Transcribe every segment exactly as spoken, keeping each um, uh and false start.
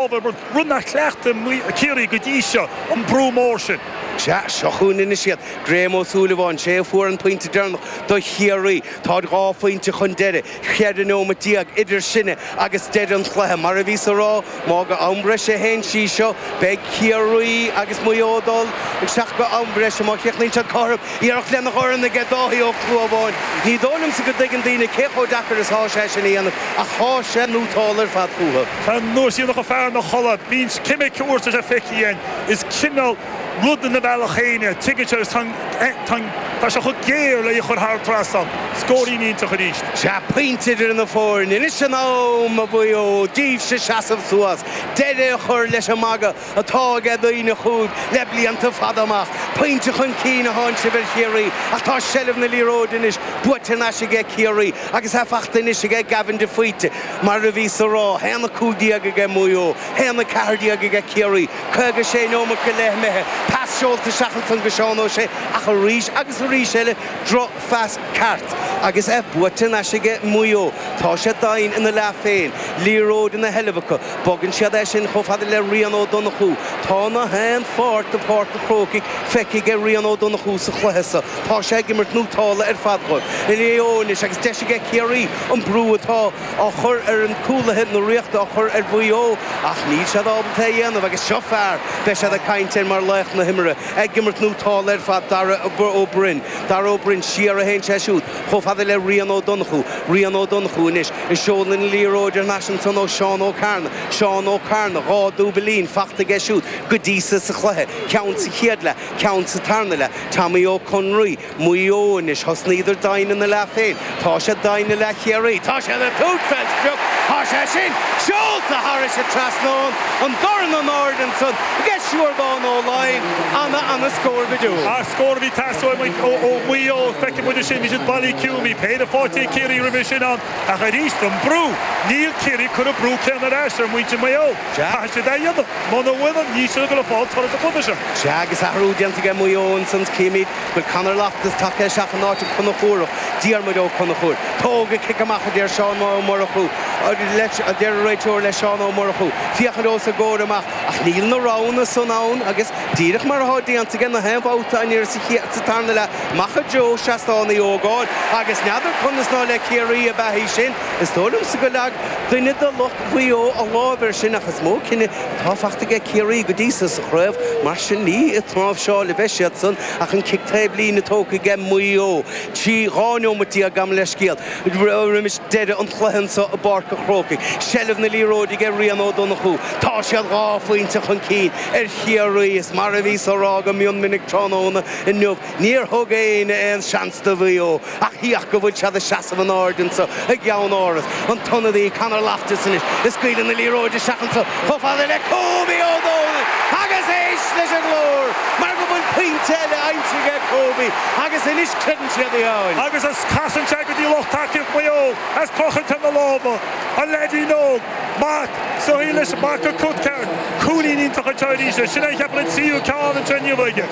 Rud nár chleachtaigh Ciarraí go dtí seo, an brú mór sin. Sea, seo chugainn anois iad. Graham Ó Súilleabháin, sé a fuair an pointe deireanach do Chiarraí. Táid dhá phointe chun deiridh, cheithre neomat déag idir sinne agus deireadh an chluiche. Mar a bhíos a rá, má go am breise a théann sí seo, beidh Ciarraí agus Maigh Eo ag dul isteach go am breise má chríochnaíonn siad cothrom. Iarracht lena dhorn aige Dáithí Ó Clúmháin. Ní dóigh liomsa go dtuigeann daoine cé chomh deacair is atá sé sin a dhéanamh, ach tá sé nótálta ar fad fúthu. Tá nós ionach fear na chodladh. Bíonn ceimic uair sa feicthe againn. Is cineál rud ina bhealach féin é. Tuigeann sé agus tá sé chomh géar le í a chur thar an trasnán. Scóirín iontach arís. Sea, pointe idir na foirne. Anois an am, a Mhaigh Eo, daoibhse seasamh suas, deireadh a chur leis an magadh atá aige daoine chugaibh le blianta fada amach. Pointe chun cinn a thánn sibh ar Chiarraí ach tá seilbh na liathróide anois buaite thar n-ais aige Ciarraí agus é fachta anois aige Gavin de Faoite. Mar a bhíos a rá, haon a cúig déag aige Maigh Eo, haon a ceathair déag aige Ciarraí, caoga sé neomat go leith imithe, pas seolta isteach ansan go Seán Ó Sé ach arís agus arís eile drochphas ceart agus é buaite thar n-ais aige Maigh Eo. Tá sé doimhin ina leath féin, liathróid ina sheilbh acu, bogann siad é sin chomh fada le Rian Ó Donnchú. Tá na haon pháirt de Pháirc an Chrócaigh feicthe aige Rian Ó Donnchú sa chluiche so. Tá sé ag imirt nótálta ar fad dhóibh. Maigh Eo anois agus deis aige Ciarraí an brú atá á chur ar an cúlaithe na Ríochta á chur ar Mhaigh Eo ach níl siad ábalta é a dhéanamh agus seo fear beidh siad ag caint air mar laoch na himeartha ag imirt nótálta ar fad Dara Ó Broin. Dara Ó Broin siar a théann sé siúd chomh fada le Rian Ó Donnchú. Rian Ó Donnchú anois ag seoladh na liathróide thar n-ais ansan ó Seán Ó Cearna. Seán Ó Cearna, dhá dúbailín fachta aige siúd go dtí so sa chluiche, ceann sa chéad leath, ceann sa tarna leath. Tommy Ó Conraoi, Maigh Eo anois, thosnaíodar doimhin ina leath féin. Tá siad doimhin i leath Chiarraí. Tá siad ag tabhairt fén sprioc. Tá sé sin seolta thairis an trasnán, an dorn in airde ansan aige Siúrdán Ó Laighin. Ana, ana scór go deo. An scór a bhí ag teastáil ó Mhaigh Eo, feicfidh muid ansin, bhí siad bailí ciúin, bhí péire faighte ag Ciarraí roimhe sin ann, ach arís an brú, níl Ciarraí ag cur an brú céanna ar ais ar mhuintir Mhaigh Eo. Caithfidh siad é a dhéanamh. Muna bhfuil, níl siad ag dul a fáil toradh sa chluiche seo. Sea, agus athrú déanta aige Maigh Eo ansan, címid go bhfuil Conor Loftus tagtha isteach in áit an Chonchúrach, Diarmuid Ó Conchúir. Tóg an cic amach, a deir Seán Ó Murchú, a deir an réiteoir le Seán Ó Murchú, féachaint os a gcomhair amach. Ach níl na roghanna san ann agus díreach mar atá déanta aige na haon bhabhta aniar sa chéad, sa tarna leath, amach i dtreo seastán Uí Ógáin agus n'fheadar conas ná le Ciarraí ab ea í sin. Is dóigh liomsa go leag duine de lucht Mhaigh Eo a lámh air sin ach is mó cinneadh atá fachta aige Ciarraí go dtí so sa chraobh. Mar sin ní ag tnáimhseáil a bheidh siad san ach an cic taobh líne tógtha aige Maigh Eo. Trí, dhá neomat déag, gabh mo leithscéal, roimis deireadh an chluiche anso i bPáirc an Chrócaigh. Seilbh na liathróide aige Rian Ó Donnchú. Tá siad dhá phointe chun cinn ar Chiarraí. Is mar a bhíos á rá go mion minic tráthnóna inniu, níor thug éinne aon seans do Mhaigh Eo ach féach go bhfuil siad ag seasamh in airde anso i gceann-áras. An t-ionadaí Conor Loftus anois ag scaoileadh na liathróide isteach anso chomh fada le Kobe Ó Dónaill agus éist leis an nglór mar go bhfuil pointe eile aimsithe ag Kobe agus anois creideann siad í fháil. Agus is casann sé go dtí lucht tacaíocht Mhaigh Eo as crochann sé na lámha, an leaidín óg, mac, soithí leis, mac an Cutcheart, cúilín iontach anseo arís, sin é cheapfainn an tríú ceann anseo inniu aige.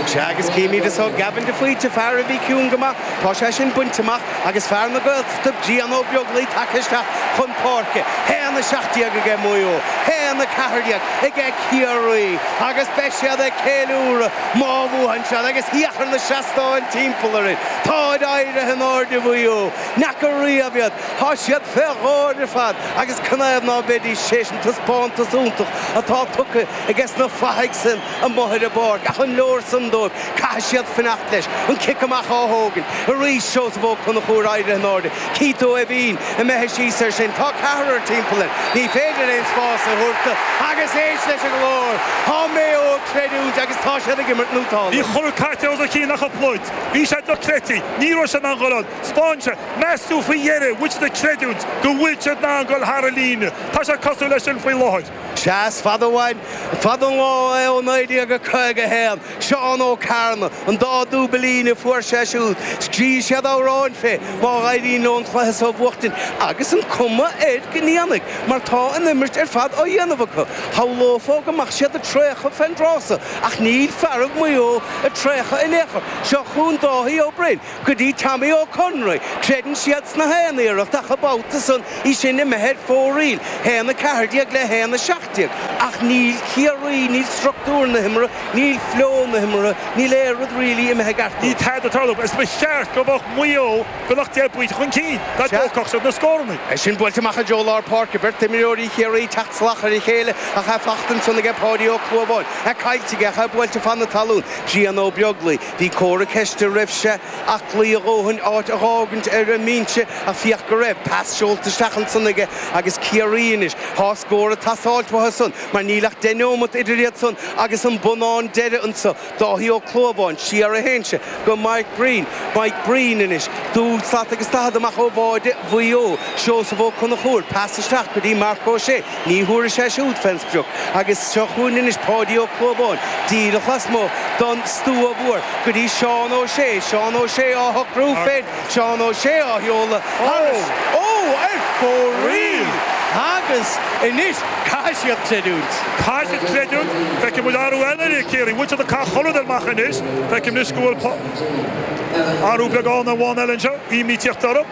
Sea, agus címid anso Gavin de Faoite, fear a bhí ciúin go maith, tá sé sin bainte amach agus fear na Gaeltachta, Brian Ó Beaglaoi tagtha isteach chun páirce. Haon a seacht déag aige Maigh Eo, haon a ceathair déag aige Ciarraí agus beidh siad ag ceiliúradh má bhuann siad agus féach ar na seastáin timpeall orainn. Táid éirithe in airde Mhaigh Eo, n'fheaca riamh iad. Tá siad fé gháir ar fad agus canathaobh ná beidís théis an taispeántas iontach atá tugtha aige sna fathaigh san amuigh ar an bpáirc. Ach an leor san dóibh? Caithfidh siad fanacht leis. An cic amach á thógaint arís. Seosamh Ó Conchúir éirithe in airde. Keith Ó hEimhín imithe síos air sin. Tá ceathrar timpeall air. Ní féidir aon spás a thabhairt do. Agus éist leis an nglór. Tá Maigh Eo ag creidiúint agus tá siad ag imirt nótálta. Bhí chorradh caite os a chionn ach an phluid. Bhí sé dochreidte. Ní raibh sé in ann dhul ann. 'Spáin sé. Meas tú faoi dheireadh bhfuil siad ag creidiúint go bhfuil siad in ann dul thar an líne? Tá sé cosúil leis sin faoi láthair. Sea, is fada uainn, fada an lá é ó naoi déag a caoga a haon. Seán Ó Cearna, an dá dúbailín a fuair sé siúd, scríobh siad amhráin fé má éiríonn leo an cluiche so a bhuachtaint agus an cuma air go ndéanfaidh mar tá an imirt ar fad á dhéanamh acu. Shamhlófá go mbeadh siad ag traochadh fén dtráth so ach níl fearaibh Mhaigh Eo ag traochadh in aon chor. Seo chugainn Dáithí Ó Broin. Go dtí Tommy Ó Conraoi, creideann siad sna haon iarracht ach an babhta san í sin imithe ar fóraoil, haon a ceathair déag le haon a seacht seacht déag. Ach níl Ciarraí, níl struchtúr na himeartha, níl flow na himeartha, níl aon rud really imithe i gceart. Ní tada ag tarlú. Is ba cheart go mbeadh Maigh Eo beagnach deich bpointe chun cinn dá dtógfadh siad na scóranna. É sin buailte amach i dtreo lár páirce, beirt imreoirí Chiarraí teacht salach ar a chéile ach é fachta ansan aige Páidí Ó Clúmháin. É caillte aige ach é buailte fan na talún. Brian Ó Beaglaoi, bhí comhartha ceiste raibh sé aclaí a dhóthain áit a dh'fhágaint ar an mbinse ach féach go raibh pas seolta isteach ansan aige agus Ciarraí anois. Tá scór ag teastáilt uathu san mar níl ach deich neomat idir iad san agus an bonnán deiridh anso. Dáithí Ó Clúmháin, siar a théann sé go Mike Breen. Mike Breen anois, dúil slat agus daichead amach ó bháide Mhaigh Eo. Seosamh Ó Conchúir, pas isteach go dtí Marc Ó Sé. Ní thabharfaidh sé siúd fén sprioc. Agus seo chugainn anois Páidí Ó Clúmháin, díreach lasmuigh don stua mhór go dtí Seán Ó Sé. Seán Ó Sé á shocrú féin. Seán Ó Sé á sheoladh thairis. Ó, ar fóraoil! Agus anois caithfidh siad creidiúint. Caithfidh siad creidiúint. Feicfidh muid athrú eile ar Ciarraí. Bhfuil siad ag caitheamh chuile rud amach anois. Feicim anois go bhfuil athrú beagán amháin eile anseo. Imní tíocht orthu.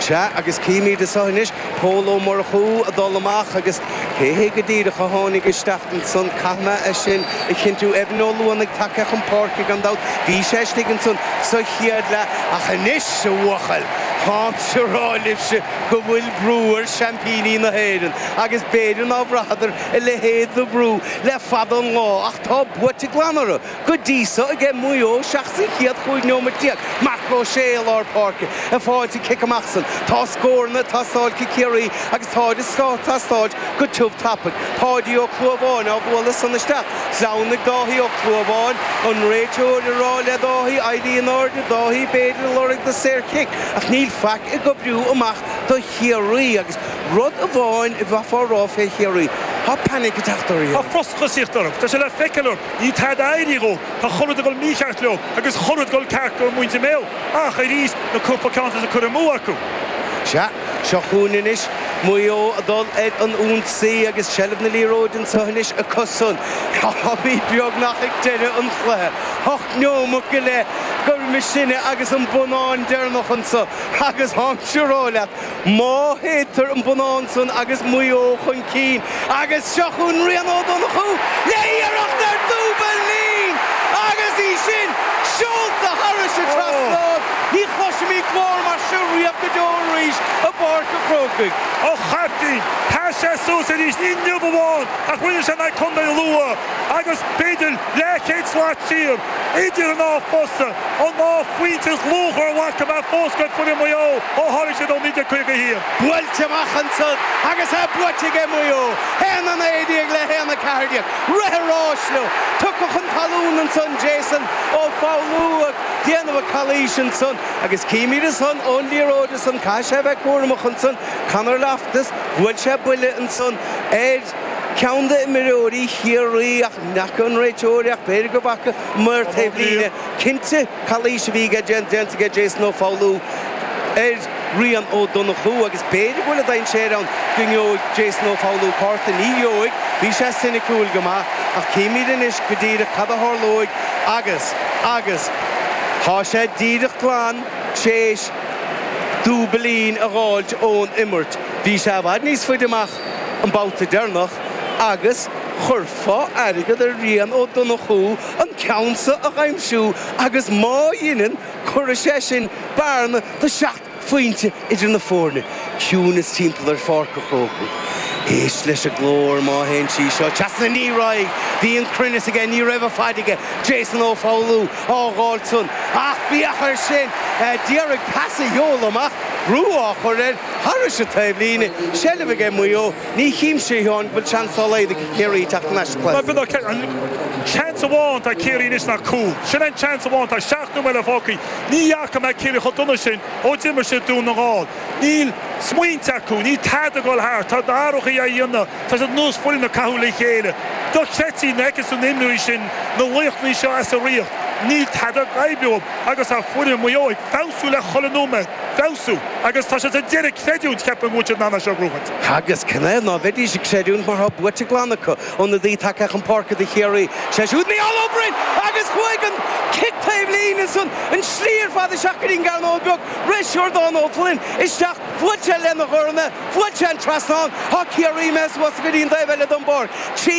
Sea, agus címid anseo anois Pól Ó Murchú ag dul amach agus cé hé go díreach a tháinig isteach ansan, caithfidh mé é sin a chinntiú. Evan Ó Luanaigh tagtha chun páirce gan dabht. Bhí sé istigh ansan sa chéad leath ach anois, a bhuachaill, táimse a rá libhse go bhfuil brú ar seaimpíní na hÉireann agus b'fhéidir ná bhraitheadar a leithéid de bhrú le fada an lá ach tá buaite glan orthu go dtí so aige Maigh Eo seachas an chéad chúig neomat déag. Marc Ó Sé i lár páirce ag fáilt an cic amach san. Tá scóranna ag teastáil ag Ciarraí agus táid ag teastáilt go tiubh tapaidh. Páidí Ó Clúmháin á bhualadh san isteach. Sleamhnaigh Dáithí Ó Clúmháin, an réiteoir ag rá le Dáithí éirí in airde, Dáithí b'fhéidir ag lorg do saorchic ach níl faic ag oibriú amach do Chiarraí agus rud amháin a bheifeá a rá fé Chiarraí, tá panic ag teacht orthu. Tá frustrachas ag tíocht orthu. Tá sé le feiceáil orthu. Níl tada ag éirí dhóibh. Tá chuile rud ag dul mícheart leo agus chuile rud ag dul ceart go muintir Mhaigh Eo. Ach arís, na cúpla ceann atá curtha amú acu. Sea, seo chugainn anois Maigh Eo ag dul ar an ionsaí agus seilbh na liathróide anseo anois acusan. Táimid beagnach ag deireadh an chluiche. Ocht neomat go leith gurb sinne agus an bonnán deireanach anseo agus táimse a rá leat, má shéidtear an bonnán san agus Maigh Eo chun cinn agus seo chugainn Rian Ó Donnchú le hiarracht ar dúbailín agus í sin seolta thairis an trasnán. Ní chloisfimid glór mar seo riamh go deo arís i bPáirc an Chrócaigh. Ó chaiptín, sheas sé suas arís, ní inniu amháin ach rinne sé in aghaidh Contae Lú agus b'fhéidir leathchéad slat siar idir an dá phosta, an dá phointe is luachmhaire a bhfaca mé fós go foireann Mhaigh Eo ó tháinig siad ó naoi déag caoga a haon. Buailte amach ansan agus é buaite aige Maigh Eo, haon a naoi déag le haon a ceathair déag. Rith an ráis leo. Tugtha chun talún ansan Jason Ó Foghlú ag déanamh a calaois ansan agus címid ansan ón liathróid ansan, caithfidh sé a bheith cúramach ansan, Conor Loftus, bhuail sé buille ansan ar ceann d'imreoirí Chiarraí ach n'fheaca an réiteoir ach b'fhéidir go bhfaca maor taobhlíne. Cinnte calaois a bhí déanta aige Jason Ó Foghlú ar Rian Ó Donnchú agus b'fhéidir go bhfuil an dainséar ann go ngeobhaidh Jason Ó Foghlú cárta. Ní gheobhaidh, bhí sé soiniciúil go maith ach címid anois go díreach cad a tharlóidh agus, agus tá sé díreach glan tréis dúbailín a dh'fháilt ón imirt. Bhí sé i bhfad níos faide amach an babhta deireanach agus chuirfeá airgead ar Rian Ó Donnchú an ceann so a dh'aimsiú agus má dheineann, cuirfidh sé sin bearna de seacht phointe idir na foirne. Ciúnas timpeall ar Pháirc an Chrócaigh. Éist leis an nglór má théann sí seo trasna. Ní raghaidh. Bhí an cruinneas aige, ní raibh an faid aige. Jason Ó Foghlú á dh'fháilt san. Ach féach air sin! D'iarraidh pas a sheoladh amach, brú á chur air thairis an taobhlíne. Seilbh aige Maigh Eo. Ní chímse, a Sheáin, go bhfuil seans dá laghad ag Ciarraí teacht thar n-ais sa chluiche. An seans amháin atá ag Ciarraí anois ná cúl. Sin an seans amháin atá. Seacht nóiméad eile fágtha. Ní fhaca mé Ciarraí chomh dona sin ó d'imir siad Dún na nGall. Níl smaointe acu, níl tada ag dul thart, tá na hathruithe á dhéanamh, tá siad ar nós foireann ag caitheamh le chéile. Dochreidte nuair a fheiceann tú na himreoirí sin, na laochraí seo as a riocht, níl tada ag oibriú agus tá foireann Mhaigh Eo ag feabhsú le chuile nóiméad, feabhsú, agus tá siad sa deireadh ag creidiúint, ceapaim go bhfuil siad in ann é seo a ghnóthaint. Agus canathaobh ná bheidís ag creidiúint mar tá buaite glan acu, ionadaí tagtha chun páirce do Chiarraí, sé siúd Micheál Ó Broin agus chuaigh an cic taobh líne ansan an slí ar fad isteach go dtí an gcearnóg beag, rith Siúrdán Ó Floinn isteach. Bhuail sé lena dhorn, bhuail sé an trasnán, Tá Ciarraí imithe suas go dtí an taobh eile den bpáirc. Trí